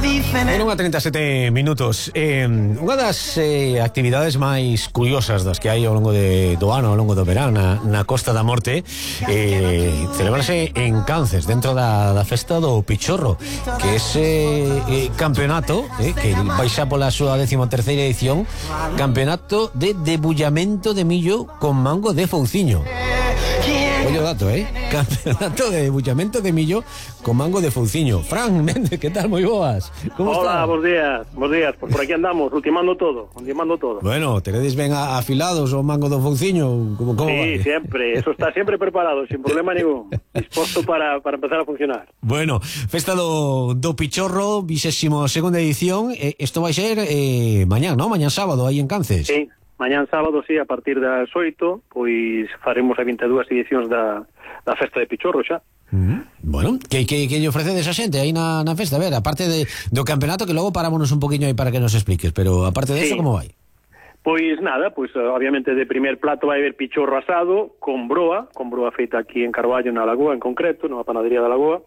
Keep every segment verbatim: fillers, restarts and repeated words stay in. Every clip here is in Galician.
En unha trinta e sete minutos eh, Unha das eh, actividades máis curiosas das que hai ao longo de, do ano, ao longo do verán na, na Costa da Morte eh, celebrarse en Cances, dentro da, da festa do Pichorro, que é ese eh, campeonato eh, que vai xa pola súa décima terceira edición, campeonato de debullamento de millo con mango de fouciño. Oye o dato, eh? Campeonato de debullamento de millo con mango de fouciño. Fran Méndez, que tal? Moi boas. Como Hola, está? Bos días, bos días. Pues por aquí andamos, ultimando todo, ultimando todo. Bueno, teredes ben afilados o mango do fouciño? Como, como sí, vai? Siempre, eso está siempre preparado, sin problema ningún. Disposto para, para empezar a funcionar. Bueno, festa do, do Pichorro, vixésimo segunda edición. Eh, esto vai ser eh, mañán, ¿no? Mañán sábado, aí en Cances. Sí. Mañán sábado, sí, a partir das oito, pois faremos a vinte e dúas edicións da, da festa de Pichorro xa. Uh-huh. Bueno, que, que, que lle ofrecedes a xente aí na, na festa? A ver, aparte de, do campeonato, que logo parámonos un poquinho aí para que nos expliques, pero aparte de sí. Eso, como vai? Pois nada, pois obviamente de primer plato vai haber pichorro asado con broa, con broa feita aquí en Carballo, na Lagoa en concreto, na panadería da Lagoa.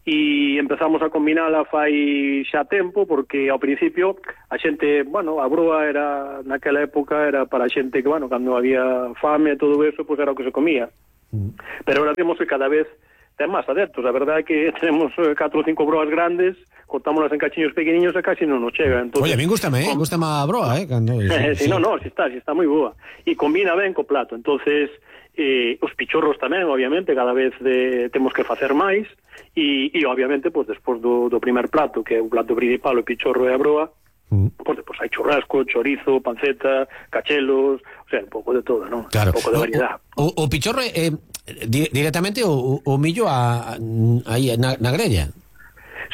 E empezamos a combinala fai xa tempo, porque ao principio a xente, bueno, a broa era naquela época era para a xente que, bueno, cando había fame e todo eso, pois pues era o que se comía. Mm. Pero ahora temos que cada vez ten máis adeptos. A verdade é que tenemos catro ou cinco broas grandes, cortámolas en cachiños pequeniños e casi non nos chega. Entonces, oye, a mí gustame, eh? Gustame a broa, eh? Cando, sí, sí, no, no, si está, si está moi boa. E combina ben co plato. Entonces, eh, os pichorros tamén, obviamente, cada vez de, temos que facer máis. E, e obviamente, pues, despois do, do primer plato, que é o plato principal, o pichorro e a broa, mm. pues, pues hai churrasco, chorizo, panceta, cachelos, o sea, un pouco de todo, non? Claro. Un pouco de variedade. O, o, o pichorro é eh, di, directamente o, o millo a, a, aí na, na grella.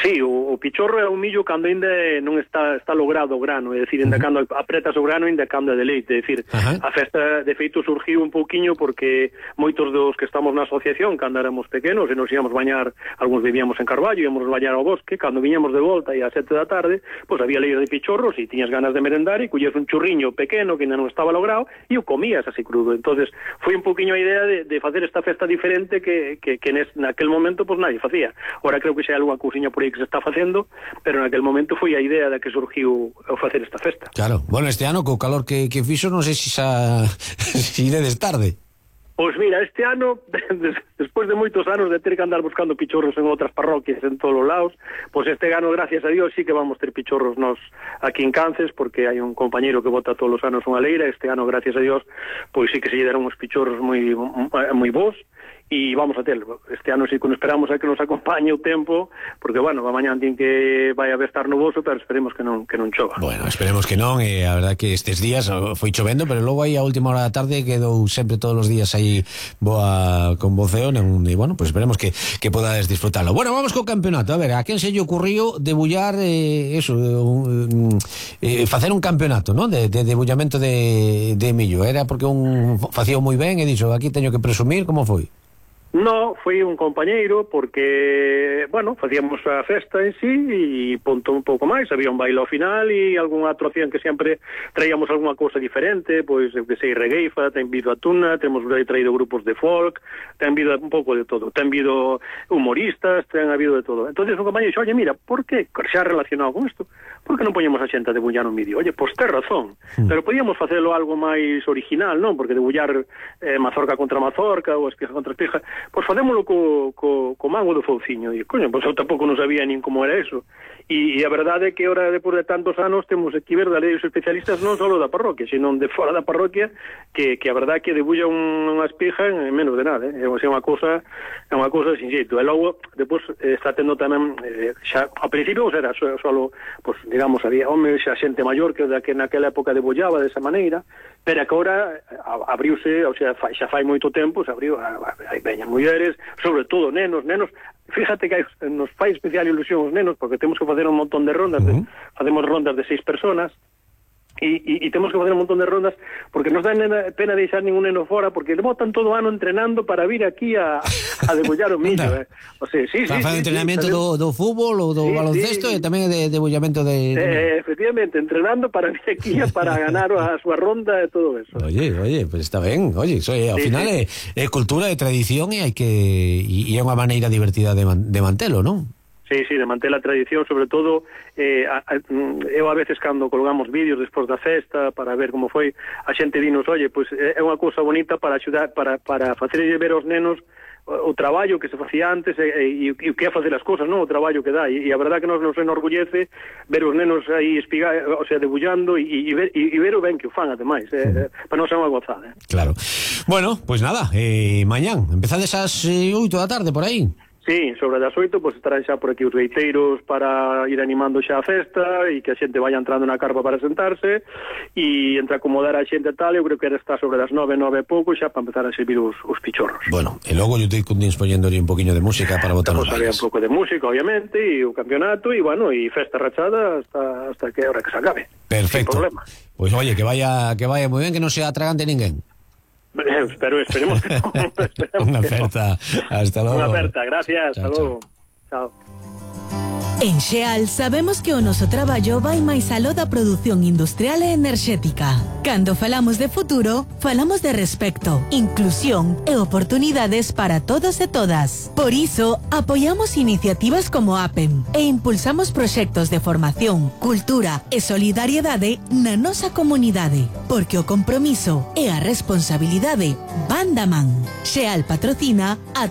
Sí, o, o pichorro é un millo cando ainda non está está logrado o grano, é dicir, ainda uh-huh. cando apretas o grano ainda cambia de leite, é dicir, uh-huh. a festa de feito surgiu un pouquiño porque moitos dos que estamos na asociación cando éramos pequenos e nos íamos bañar, algúns vivíamos en Carballo, íamos bañar ao bosque, cando viñamos de volta e ás sete da tarde, pois había leira de pichorros e tiñas ganas de merendar e collías un churriño pequeno que ainda non estaba logrado e o comías así crudo. Entonces foi un pouquiño a idea de, de facer esta festa diferente que, que, que nes, naquel momento pois nadie facía. Ora creo que xa hai algunha cousiña por aí que se está facendo, pero naquel momento foi a idea da que surgiu o facer esta festa. Claro, bueno, este ano co calor que, que fixo non sei se xa si iredes tarde. Pois mira, este ano, despois de moitos anos de ter que andar buscando pichorros en outras parroquias en todos os lados, pois este ano, gracias a Dios, sí que vamos ter pichorros nos aquí en Cances, porque hai un compañeiro que bota todos os anos unha leira. Este ano, gracias a Dios, pois sí que se lle deron uns pichorros moi moi bons. E vamos a terlo. Este ano sí que nos esperamos a que nos acompañe o tempo, porque, bueno, a mañán din que vai a estar nuboso, pero esperemos que non que non chova. Bueno, esperemos que non, e a verdade que estes días foi chovendo, pero logo aí a última hora da tarde quedou sempre todos os días aí boa con voceo, e, bueno, pues esperemos que, que podades disfrutarlo. Bueno, vamos co campeonato. A ver, a quen se lle ocurriu debullar eh, eso, eh, facer un campeonato, ¿no? De, de debullamento de, de millo. Era porque un facía moi ben e dixo, aquí teño que presumir, como foi? No, foi un compañeiro porque, bueno, facíamos a festa en sí e ponto un pouco máis, había un baile ao final e algunha atracción que sempre traíamos algunha cousa diferente, pois que sei, regueifa, ten vido a tuna, temos traído grupos de folk, ten vido un pouco de todo, ten vido humoristas, ten habido de todo. Entonces un compañero dixo, oye, mira, por que, xa relacionado con isto, por que non poñemos a xente a debullar un vídeo? Oye, pois ten razón, mm. pero podíamos facelo algo máis original, non? Porque debullar eh, mazorca contra mazorca ou espija contra espija, pois facémolo co, co, co mango do fouciño. E, coño, pois eu tampouco non sabía nin como era eso. E, e a verdade é que ahora, depois de tantos anos, temos que ver da lei os especialistas non só da parroquia, sino de fora da parroquia, que, que a verdade é que debulla un, unha espija en menos de nada, eh? É unha cousa, é unha cousa sin xeito. E logo, depois, eh, está tendo tamén, eh, xa, ao principio, pues, era só, solo, pues, digamos, había homes, xa xente maior que, que naquela época debullaba desa maneira, pero que agora abriuse, o sea, xa fai moito tempo, se abriu, hai veñas mulleres, sobre todo nenos, nenos, fíjate que hai, nos fai especial ilusión os nenos, porque temos que facer un montón de rondas, uh-huh. de, facemos rondas de seis personas, e, e, e temos que facer un montón de rondas, porque nos dan pena deixar ningún neno fora, porque le botan todo o ano entrenando para vir aquí a, a debullar o millo. eh. O sea, sí, sí, sí, entrenamento sí, do, do fútbol ou do sí, baloncesto sí. E tamén de debullamento de... Eh, efectivamente, entrenando para vir aquí para ganar a súa ronda e todo eso. Oye, oye, pues está ben, oye, so, ao sí, final sí. É, é cultura e tradición e hai que e é unha maneira divertida de, man, de mantelo, non? Sí, sí, de manter a tradición, sobre todo eh, a, a, eu a veces cando colgamos vídeos despois da festa para ver como foi, a xente dinos, oye, pois é unha cousa bonita para axudar, para, para facerlle ver aos nenos o, o traballo que se facía antes e, e, e o que é facer as cousas, non? O traballo que dá, e, e a verdad que nos nos enorgullece ver os nenos aí espigar, o sea, debullando e, e, ver, e, e ver o ben que o fan, ademais, eh, eh, para non ser unha gozada. Eh. Claro. Bueno, pois pues nada, eh, mañán, empezades ás eh, oito da tarde por aí. Sí, sobre das oito, pois estarán xa por aquí os gaiteiros para ir animando xa a festa e que a xente vaya entrando na carpa para sentarse e entre acomodar a xente tal, eu creo que era estar sobre das nove, nove e pouco xa para empezar a servir os, os pichorros. Bueno, e logo eu te condins poñéndole un poquinho de música para botar os bailes. Un pouco de música, obviamente, e o campeonato e, bueno, e festa rachada hasta, hasta que hora que se acabe. Perfecto. Pois pues, oye, que vaya que vaya moi ben, que non se atragante ninguén. Espero, esperemos que no. Unha aperta, hasta logo. Unha aperta, gracias, chao, hasta logo. Chao. En Xeal sabemos que o noso traballo vai máis aló da produción industrial e enerxética. Cando falamos de futuro, falamos de respecto, inclusión e oportunidades para todos e todas. Por iso, apoiamos iniciativas como APEM e impulsamos proxectos de formación, cultura e solidariedade na nosa comunidade, porque o compromiso e a responsabilidade van da man. Xeal patrocina a